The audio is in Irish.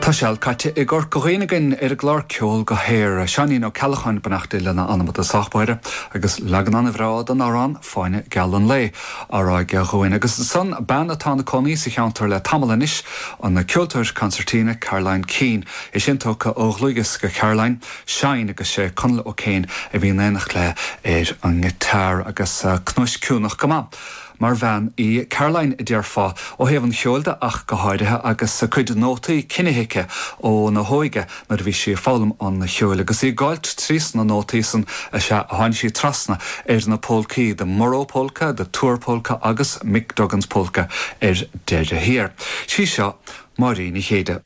Tá seal caite i gCorca Dhuibhne againn ar an gclár Ceol go hAer. Seáinín Ó Ceallacháin, beannacht Dé lena anam i dtosach báire, agus leagan an-bhreá den amhrán Fáinne Geal an Lae á rá aige dhúinn. Agus ansan, bean atá ina cónaí sa cheantar le tamall anois, an ceoltóir consairtín Caroline Keane. É sin tógtha ó dhlúthdhiosca Caroline, Shine agus sé Conall O'Kane a bhí in éineacht léi ar an ngiotár agus cnuaisciúnach go maith mar bhean í Caroline, a déarfá, ó thaobh an cheoil de ach go háirithe, agus a cuid nótaí cinnithe aici óna hóige nuair a bhí sí ag foghlaim an cheoil. Agus í ag gabháilt trí sna nótaí san is ea a tháinig sí trasna ar na pólcaí, The Murroe Polka, The Tuar Polka agus Mick Duggan's Polka ar deireadh thiar. Sí seo Máirín Ní Chéide.